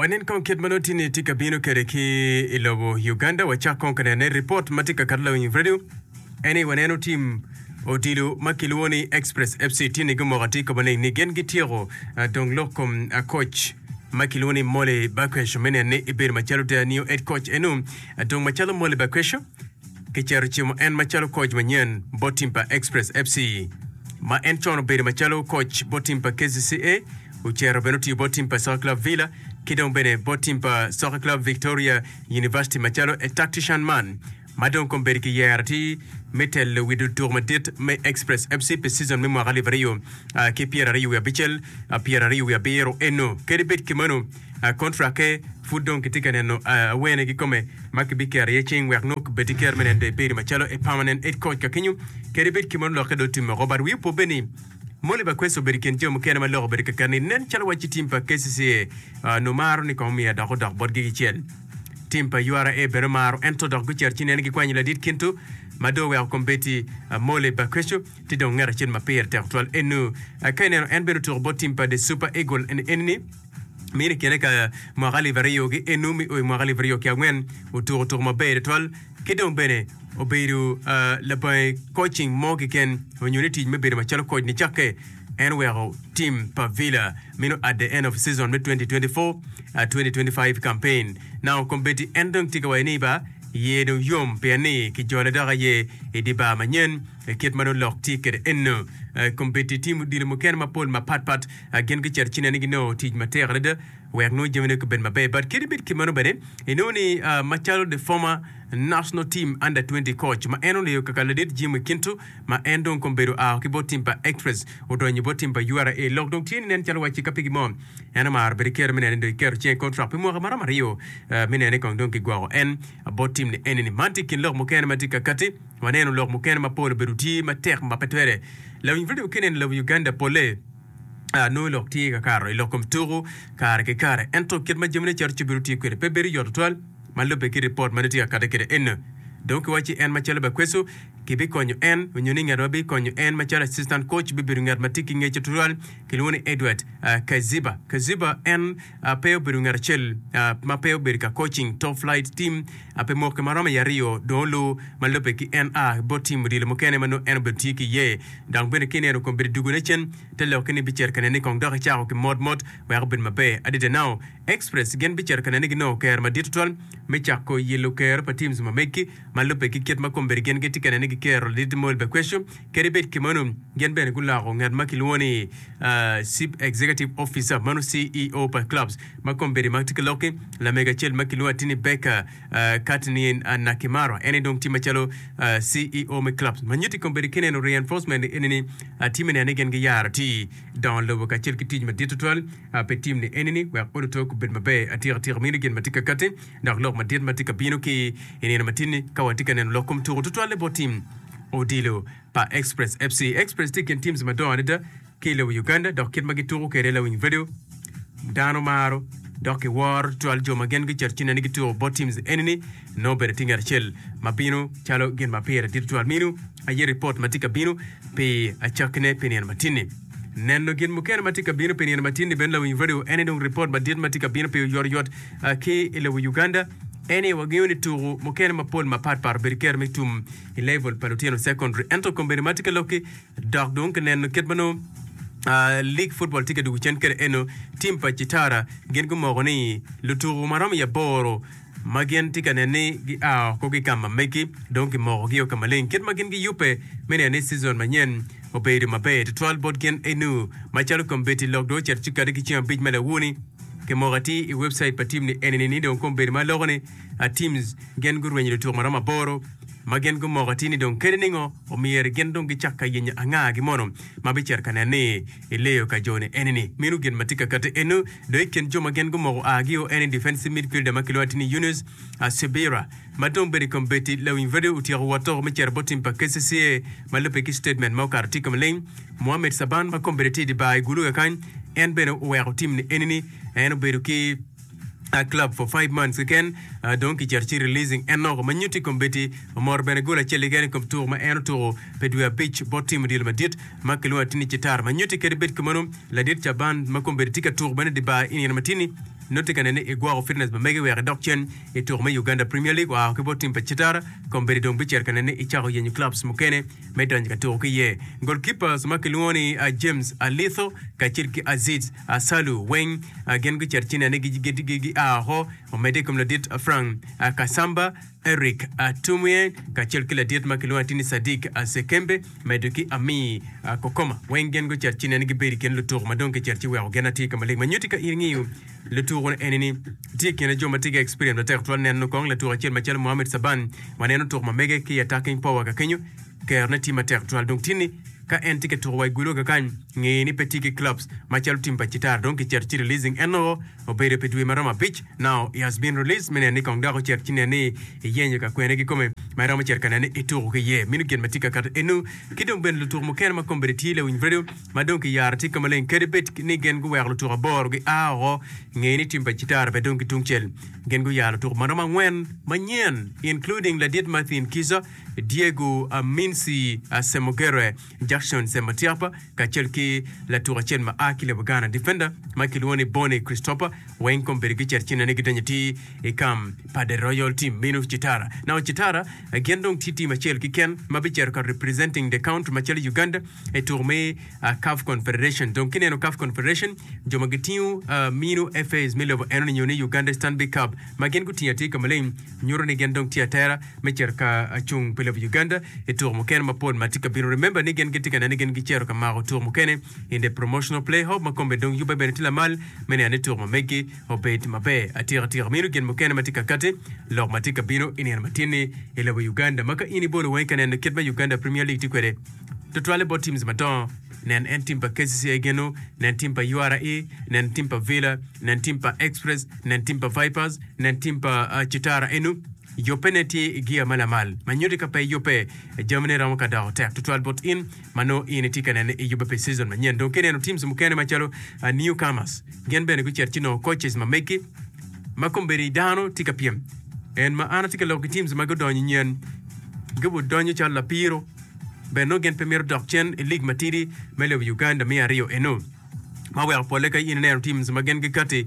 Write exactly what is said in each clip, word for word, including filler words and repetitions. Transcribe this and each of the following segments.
Wanen kong kit ma nongo tye-ni tye ka bino kwede ki i lobo Uganda. Wacak kong ka nene ripot ma tye ka kato lawiny radio. En ni waneno tim odilo ma kilwongo ni Express F C tye ni gumoko atir ka maleng ni gin gityeko eh, dong lok kom eh, coach ma kilwongo ni Molly Bakwesho me neno ni ebedo macalo the new head coach enu. Eh, Dong macalo Molly Bakwesho kicero cimo en macalo coach manyen bot tim pa Express F C ma en con obedo macalo coach bot tim pa K C C A, ocero bene otiyo bot tim pa Soccer Club Villa ki dong bene bot tim pa Soccer Club Victoria University macalo a tactician man ma dong kombeddi kiyero atir me telo wi tuko madit me Express F C pi season me mwaka alip aryo ah, ki pyera aryo wiye abicel ah, pyera aryo wiye abiro eno. Kadi bed kimeno, ah, contract-ke pud dong kitye ka neno ah, awene kikome ma kibiketo iye cing wek nongo bed ki kero me neno dong ebedo macalo a permanent head coach ka kenyo. Kadi bed kimeno, lokke dong otimme oko, but wiye opo bene ni Molly Bakwesa obedo i kin jo mukene ma lok obedo kakare ni nen calo wacci tim pa K C C A uh, numaro ni kong omiyo dok odok botgi kicel. Tim pa U R A bene omaro ento dok gucito ci nene gikwanyo ladit kintu ma dong oweko kombeddi uh, Molly Bakwesa ti dong ngat acel ma pire tek twal enu. Uh, ka ineno en bene otuko bot tim pa The Super Eagle en enini mini kine ka mwaka alip aryo gi enu mi o i mwaka alip aryo ki angwen otuko tuko maber twal ki dong bene obedo uh, labange coaching mo keken onyo ni tic me bedo macalo coach ni cakke en oweko team pa Villa mino at the end of season me twenty twenty-four uh, twenty twenty-five campaign. Now kombeddi en dong tye ka waco ni ba ye dong yom pien ni kijole dok aye i di bar manyen e kit ma dong lok tye kwede eno. Uh, kombeddi tim odilo mukene mapol mapatpat uh, gin gicito ci nene ginongo tic matek adada wek nongo jamine obed maber, but kadi bed kimeno bene inongo ni uh, macalo the former national team under twenty coach ma en oleyo kaka ladit Jimmy Kintu ma en dong kombedo ao ki bot team pa Express odonyo bot team pa U R A, lok dong tye ni nen calo wacci ka pigi mo en omaro bedo kero me nene dong iketo ceng contract pi mwaka maromo aryo uh, me nene kong dong kigwoko en bot team ni enini. Man tye kin lok mukene ma tye kakati. Waneno lok mukene mapol obedo tye matek ma pe twere lawiny radio kineno lobo Uganda pole. Uh, nongo lok tye kakaro i lok kom tuku kare ki kare, ento kit ma jamine cito ci bedo tye kwede pe bedo yot tutwal ma lubbe ki ripot ma tye kakate kwede eno. Dong kiwaci en macalo Bakweso kibikonyo en onyo ni ngat ma bikonyo en macalo assistant coach bibedo ngat ma tye ki ngec tutwal kilwongo ni Edward uh, Kaziba. Kaziba en uh, pe obedo ngat acel uh, ma pe obedo ka coaching top flight team uh, pe moke maromo i aryo dong olu ma lubbe ki en a bot team odilo mukene ma nongo en obedo tye ki iye. Dok bene kineno kom bedo dugone cen te lokke ni bicito ka nene kong dok icako ki mot mot wek obed maber adada. Now Express gin bicito ka nene ginongo kero madit tutwal me cako yelo kero pa teams ma megi ma lubbe ki kit ma kombeddi gin gitye ka nene gikero ladit Molly Bakwesho. Kadi bed kimeno, gin bene guloko ngat ma kilwongo ni uh, chief executive officer mano C E O pa clubs ma kombeddi ma tye ka lokki lamego acel ma kilwongo atini Becca uh, Katni uh, Nakimara en dong tye macalo uh, C E O me clubs ma nyutti kombeddi kineno reinforcement enini uh, tye me neno ni gin giyaro ti dongo lobo kacel ki tic madit tutwal uh, pe tim ni enini wek oduto obed maber atika atika. Mino gin ma tye kakati dok lok madit ma tye ka bino ki i nino matin-ni ka watye ka neno lok kom tuko tutwalle bot tim odilo pa Express F C. Express tye i kin teams madongo adada ki i lobo Uganda dok kit ma gituko kwede lawiny radio dano maro dok kiworo tutwal jo ma gin gicito ci nene gituko bot teams enini nongo bedo tye ngat acel ma bino calo gin ma pire dit tutwal. Mino aye ripot ma tye ka bino pi acakkine pi nino matin-ni. Neno gin mukene ma tye ka bino pi nino matin-ni bene lawiny radio en dong ripot madit ma tye ka bino pi oyotoyot uh, ki i lobo Uganda en wangeyo ni tuko mukene mapol mapatpat obedo kero me tum i level pa lutino secondary, ento kombeddi ma tye ka lokki dok dong kineno kit ma nongo Uh, league football tye ka dugo cen kede eno team pa Kitara gin gumoko ni lutuko maromo i aboro ma gin tye ka neno ni gia oko ki kama megi dong kimokogi o ka maleng kit ma gin giyubbe me neno ni season manyen obedo maber tutwal bot gin enu macalo kombeddi lok dong ocito ci kati ki ceng abic ma lawuni kimoko atir i website pa team ni enini ni dong kombeddi ma loko ni uh, teams gin gurwenyo lutuko maromo aboro ma gin gumoko atir ni dong kede ningo omyero gin dong gicak ka yenyo angagi mono ma bicito ka neno ni ileyo ka jo ni enini. Mino gin ma tye ka kati enu dong i kin jo ma gin gumoko agio en defensive midfielder ma kilwongo atir ni Yunus uh, Sibira ma dong bedo i kombeddi lawiny radio otyeko wotoko me cito bot team pa K C C A ma lubbe ki statement ma okato tye ka maleng. Mohamed Saban ma kombeddi tye i di bar i Gulu kakany en bene oweko team ni enini en obedo ki a club for five months keken uh, dong kicito ci releasing en noko ma nyutti kombeddi omoro bene gol acel keken i kom tuko ma en otuko pi dwe abic bot tim odilo madit ma kilwongo atini Citar ma nyutti kadi bed kumeno ladit Caban ma kombeddi tye ka tuko bene di bar i nino matini Nongo tye ka nene ni igwoko fitness ma megi wek idok cen i tuko me Uganda Premier League oa ki bot tim pa Kitara kombeddi dong bicito ka nene ni icako yenyo clubs mukene me donyo ka tuko ki iye. Goalkeepers ma kilwongo ni James Alitho kacel ki Aziz Asalu weng gin gucito ci nene ni gia oko omedde i kom ladit Frank Kasamba, Eric Tumwie kacel ki ladit ma kilwongo atir ni Sadiq Sekembe medo ki Ami Kokoma weng gin gucito ci nene gibedo i kin lutuko ma dong kicito ci weko gin atir ka maleng ma nyutti ka in ingiyo lutuko eni ni tye i kine jo ma tye ki experience matek tutwal neno kong latuko acel macalo Mohamed Saban waneno tuko ma mege ki attacking power ka kenyo kerone tye matek tutwal dong tinni ka en tye ka tuko wa i gulo kakany nge ni pe tye ki clubs macalo tim pa Kitara dong kicito ci releasing en nongo obedo pi dwe maromo abic now he has been released me neno ni kong dok ocito ci neno ni iyenyo ka kwene kikome ma iromo cito ka neno ni ituko ki iye meno gin ma tye ka kato enu ki dong bene lutuko mukene ma kombeddi tye lawiny radio ma dong kiyaro tye ka maleng kadi bed ni gin guweko lutuko aboro gia oko nge ni tim pa Kitara bene dong ki tungcel gin guyaro lutuko maromo angwen manyen including ladit Martin Kiza Diego Minsi Semogere Jackson Sematiapa kacel ki latuko acel ma a ki lobo Ghana defender ma kilwongo ni Bonnie Christopher weng kombeddi gicito ci nene gidonyo atir i kam pa the Royal Team meno Kitara. Now Kitara gin dong tye team acel keken ma bicito ka representing the country macalo Uganda i tuko me uh, CAF Confederation. Dong kineno CAF Confederation jo ma gitingo uh, mino FAs me lobo eno ni nyo ni Uganda Stanbic Cup ma gin gutingo atir ka maleng nyuto ni gin dong tye atera me cito ka cung pi lobo Uganda i tuko mukene mapol ma tye ka bino. Remember ni gin gitye ka neno ni gin gicito ka mako tuko mukene in the promotional play off ma kombeddi dong yubbe bene tye lamal me neno ni tuko ma megi obed maber atika atika. Meno gin mukene ma tye ka kati lok ma tye ka bino i nino matin-ni i lobo Uganda ma ka in ibolo wangi ka neno kit ma Uganda Premier League tye kwede tutwalle bot teams madongo nen en team pa K C C A geno nen team pa U R A, nen team pa Villa, nen team pa Express, nen team pa Vipers, nen team pa uh, Kitara enu yubbe ne tye i gia ma lamal ma nyutti ka pe yubbe jamine romo ka doko tek tutwal bot in ma nongo in itye ka nene i yubbe pi season manyen. Dong kineno teams mukene macalo uh, newcomers gin bene gucito ci nongo coaches ma megi ma kombeddi dano tye ka pyem en ma an atye ka lok ki teams ma gudonyo nyen gibudonyo calo lapiro bene nongo gin pe mito dok cen i league matidi me lobo Uganda me aryo eno ma weko polle ka in ineno teams ma gin gikati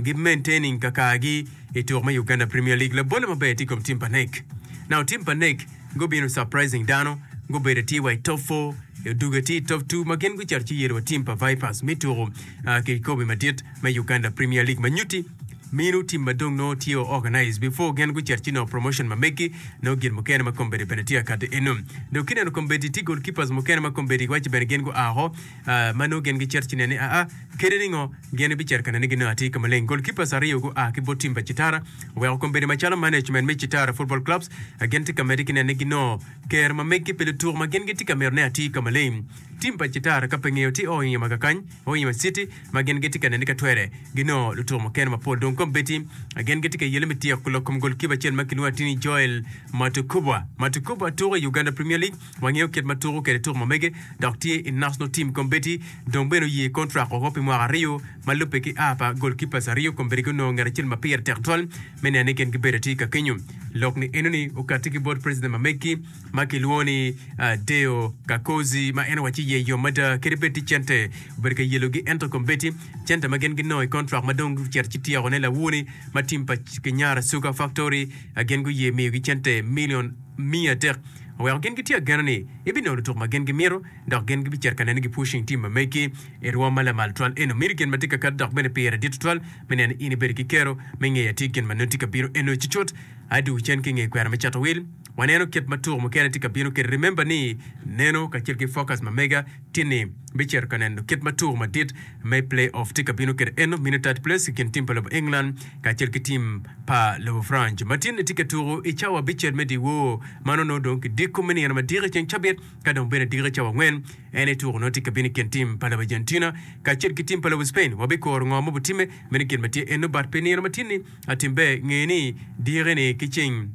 gi maintaining kakagi i tuko me Uganda Premier League. Labolle maber tye i kom team pa N E C. Now team pa N E C gubino surprising dano gubedo tye wa i top four odugo tye i top two ma gin gucito ci yelo wa team pa Vipers me tuko uh, kikobi madit me Uganda Premier League ma nyutti mino team ma dong nongo tye organize before gin gucito ci nongo promotion ma megi nongo gin mukene ma kombeddi bene tye akati eno. Dong kineno kombeddi tye goalkeepers mukene ma kombeddi waci bene gin gua oko uh, ma nongo gin gicito ci nene aa kede ningo gin bicito ka nene ginongo atir ka maleng. Goalkeepers aryo gua ki bot team pa Kitara oweko kombeddi macalo management me Kitara Football Clubs uh, gin tye ka medde ki nene ginongo ker ma megi pi lutuko ma gin gitye ka mito ne atir ka maleng. Team pa Kitara ka pe ngeyo tye Hoima kakany Hoima City ma gin gitye ka nene ka twere ginongo lutuko mukene mapol. Dong kombeddi gin gitye ka yele me tyeko lok kom goalkeeper acel ma kilwongo atir ni Joel Matukubwa. Matukubwa tuko i Uganda Premier League wangeyo kit ma tuko kwede tuko ma mege dok tye i national team kombeddi dong bene oye contract oko pi mwaka aryo ma lubbe ki a pa goalkeepers aryo kombeddi gunongo ngat acel ma pire tek twal me neno ni gin gibedo atir ka kenyo. Lok ni eno ni okati ki bot president ma megi ma kilwongo ni uh, Deo Kakozi ma en owaci ye yom mada kadi bed ti cente obedo ka yelogi ento kombeddi cente ma gin ginongo i contract ma dong gucito ci tyekone lawuni ma team pa Kinyara Sugar Factory uh, gin guye miyogi cente million mia adek oweko gin gitye agena ni ibinongo lutuko ma gin gimito dok gin gibicito ka nene gi pushing team ma megi i rwom ma lamal twal eno mito gin ma tye ka kato dok bene pire dit tutwal me neno in ibedo ki kero me ngeyo atir gin ma nongo tye ka bino eno cucut adwogo cen ki nge kwena me cato wil waneno kit ma tuko mukene tye ka bino kede. Remember ni neno kacel ki focus ma mega tye ni bicito ka neno kit ma tuko madit me play off tye ka bino kede eno mino third place i kin team pa lobo England kacel ki team pa lobo France ma tin tye ka tuko i cawa abicel me dyewor mano nongo dong kidiko me nino madiko i ceng cabit ka dong bene diko i cawa angwen en i tuko nongo tye ka bino i kin team pa lobo Argentina kacel ki team pa lobo Spain. Wabikuro ngo ma obitimme meno gin ma tye eno but pi nino ma tin-ni atimbe nge ni diki-ni ki ceng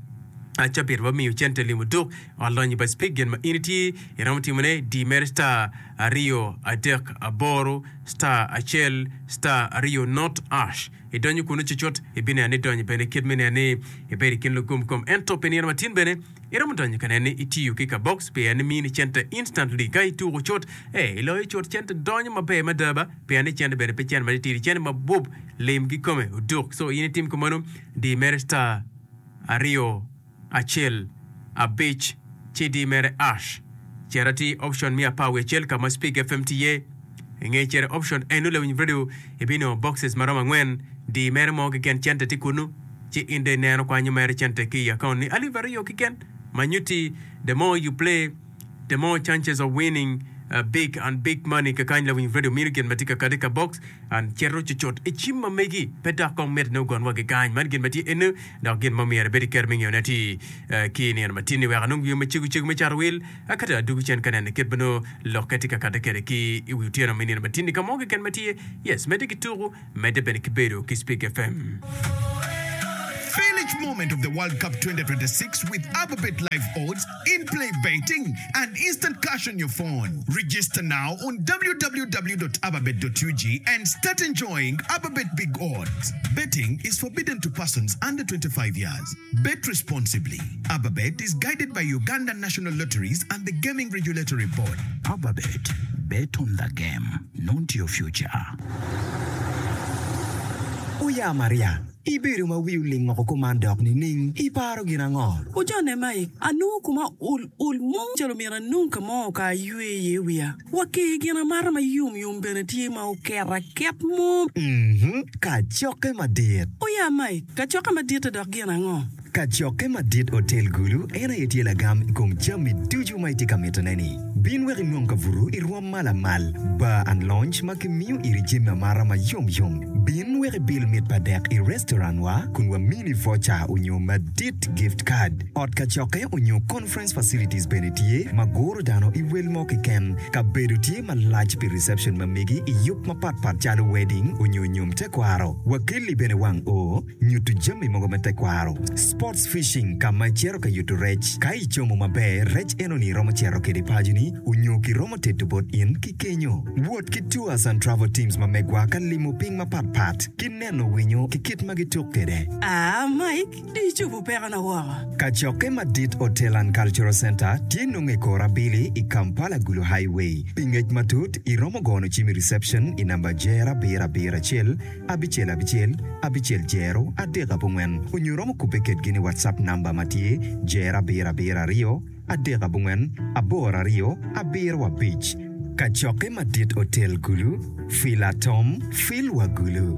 Cabit wamiyo cente limo duk ot lonyo pa Speke gin ma in itye iromo timone di mere star aryo adek aboro star acel star aryo not ash idonyo kunu cucut ibineno ni donyo bene kit me neno ni ibedo i kin lugum kom ento pi nino matin bene iromo donyo ka neno ni itiyo ki ka box pien ni mini cente instantly ka ituko cut eh iloyo cut cente donyo maber mada ba pien ni cente bene pe cente matitidi cente mabup lim kikome oduk so in itim kumeno di mere star aryo acel abic ci di mere ash cito atir option me apar wiye acel ka ma Speak F M tye iye. I nge cito i option eno lawiny radio ibinongo boxes ma romo angwen di mere mo keken cente tye kunu ci in dong ineno kwanyo mere cente ki i account ni alip aryo keken ma nyutti the more you play the more chances of winning big and big money kakany lawiny radio mino gin ma tye ka kati ka box and cito cucut i cim ma megi pe dok kong mitte ni ogon wa ki kany man gin ma tye eno dok gin ma myero ibed iketo me ngeyone atir ki nino ma tinni wek anong yo macego cego me cato wil akati adugu cen ka neno kit ma nongo lokke tye ka kati kwede ki i wi otyeno me nino ma tinni ka mo keken ma tye yes medde ki tuku medde bene ki bedo ki Speak F M. Feel each moment of the World Cup twenty twenty-six with Ababet live odds, in-play betting, and instant cash on your phone. Register now on w w w dot ababet dot u g and start enjoying Ababet Big Odds. Betting is forbidden to persons under twenty-five years. Bet responsibly. Ababet is guided by Uganda National Lotteries and the Gaming Regulatory Board. Ababet, bet on the game, not your future. Oya Maria, ibedo ma wi oling woko kuman dok nining? Iparo gin ango? Ojone Mike, anongo kuma ol ol mo calo myero anong ka mo ka aywe iye wiya. Wa ki gin amata ma yom yom bene tye ma oketo aket mo. Mhm, kacokke madit. Oya Mike, kacokke madit dok gin ango? Kacokke madit Hotel Gulu en aye tye lagam i kom jami ducu ma itye ka mitone-ni. Bin wek inong kabuto i rwom ma lamal, bar and lounge ma kimiyo iri jami amata ma yomyom. Bin wek ibil mit pa dek i restaurant wa kun wamini voucher onyo madit gift card. Ot kacokke onyo conference facilities bene tye ma guro dano i wel mo keken. Kabedo tye malac pi reception ma megi i yub mapatpat calo wedding onyo nyom tekwaro. Wakelli bene wang o nyuto jami mogo me tekwaro. Sports fishing ka ma icito ka yuto rec. Ka icomo maber, rec enoni romo cito kede paconi onyo kiromo tedo bot in ki kenyo. Wot ki tours and travel teams ma megwa ka limo piny mapatpat ki neno winyo ki kit ma gituk kede. Ah, Mike, di icobo pekona woko. Kacokke madit Hotel and Cultural Center tye nongo i kor abili i Kampala Gulu Highway. Pi ngec matut iromo gono cim i reception i namba jero abiro abiro acel abicel abicel abicel jero adek abongwen onyo iromo kubbe kedgi ni WhatsApp namba ma tye jero abiro abiro aryo adek abongwen aboro aryo abiro abic. Kacokke madit Hotel Gulu, Filatom, Fil wa Gulu.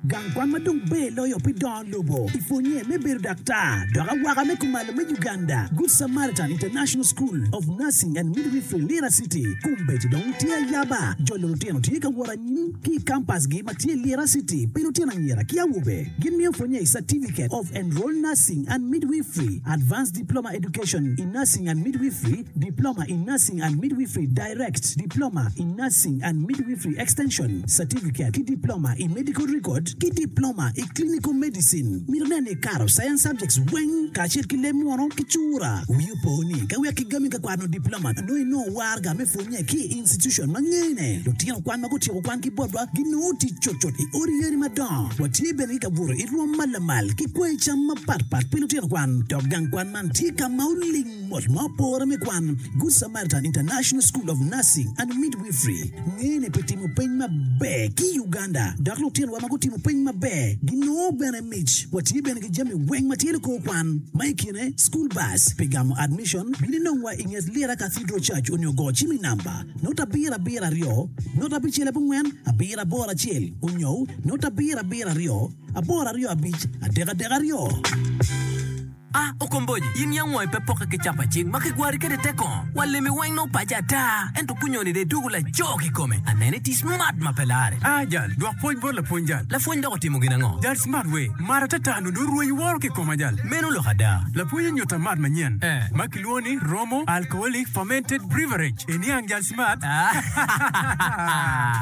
Gang kwan ma dong ber loyo pi dongo lobo i pwonye me bedo daktar dok awaka me kumalo me Uganda, Good Samaritan International School of Nursing and Midwifery Lira City kombeddi dong tye ayaba. Jolo lutino tye ka wot anyim ki i kampasgi ma tye Lira City pi lutino anyira ki awobe. Gin miyo pwonye i Certificate of Enrolled Nursing and Midwifery, Advanced Diploma Education in Nursing and Midwifery, Diploma in Nursing and Midwifery Direct, Diploma in Nursing and Midwifery Extension, Certificate ki Diploma in Medical Record ki Diploma i Clinical Medicine. Mito neno ni ikato science subjects weng kacel ki leb muno ki cura. Wi opo ni ka wek kigami ka kwano diploma nongo inongo waraga me pwonye ki i institution ma ngene. Lutino kwan ma gutyeko kwan ki botwa ginongo tic cutcut i odi yadi madongo. Watye bene ki kabuto i rwom ma lamal ki kweyo cam mapatpat pi lutino kwan. Dok gang kwan man tye ka ma oling mot ma opore me kwan. Good Samaritan International School of Nursing and Midwifery ngene pi timo peny maber ki i Uganda dok lutinowa ma gutimo peny maber ginongo bene mic. Watye bene ki jami weng ma tye likor kwan ma i kine school bus pi gamo admission bin inongwa i nget Lira Cathedral Church onyo go cim i namba not abiro abiro aryo not abicel abongwen abiro aboro acel onyo not abiro abiro aryo aboro aryo abic adek adek aryo. Ah, okomboji, in yang wangi pe pokke ki capa cing ma kigwari kwede te kongo. Wa lemi weng nongo paco ata, ento kunyoni de dwogo laco kikome. Anene tye smart ma pe lare. Ah jal, dwok pwony bot lapwony jal. Lapwony dok otimo gin ango? Jal smart we, mat atata nongo orwenyo woro ki koma jal. Meno lok ada. Lapwony onyuta mat manyen Eh. ma kilwongo ni Romo Alcoholic Fermented Beverage. Iniang jal smart?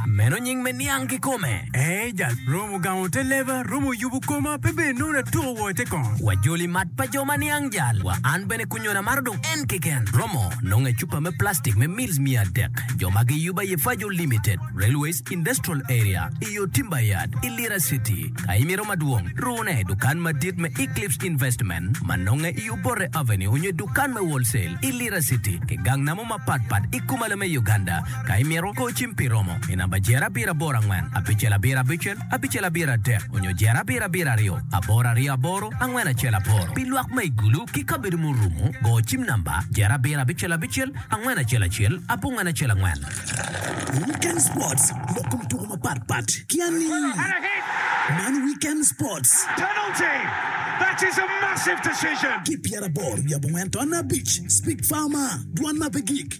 Meno nying me niang kikome. Eh jal, romo gamo te leba, romo yubo koma, pe bene nongo atuko wo i te kongo. Wajoli mat pa jo ma niang jal. Wa an bene kunyona maro dong en keken. Romo nongo i cupa me plastic me mils miya adek. Jo ma giyubo aye Fajo Limited, Railways Industrial Area, i yo Timber Yard, i Lira City. Ka imito madwong, rune i dukan madit me Eclipse Investment ma nonge i Obote Avenue onyo i dukan me Wholesale i Lira City ki gang namo mapatpat i kumalo me Uganda. Ka imito, go cim pi romo i namba jer abiro aboro angwen abicel abiro abicel abicel abiro adek onyo jer abiro abiro aryo aboro aryo aboro angwen acel aboro. Pi lwak ma i Gulu ki kabedo murumo, go cim namba jer abiro abicel abicel angwen acel acel abongwen acel angwen. Weekend Sports, lok kom tuko mapatpat ki ani. Man Weekend Sports. Penalty! That is a massive decision! Ki pyeraboro wiye abongwen ton abic, Speak Farmer, dwan ma pe gik.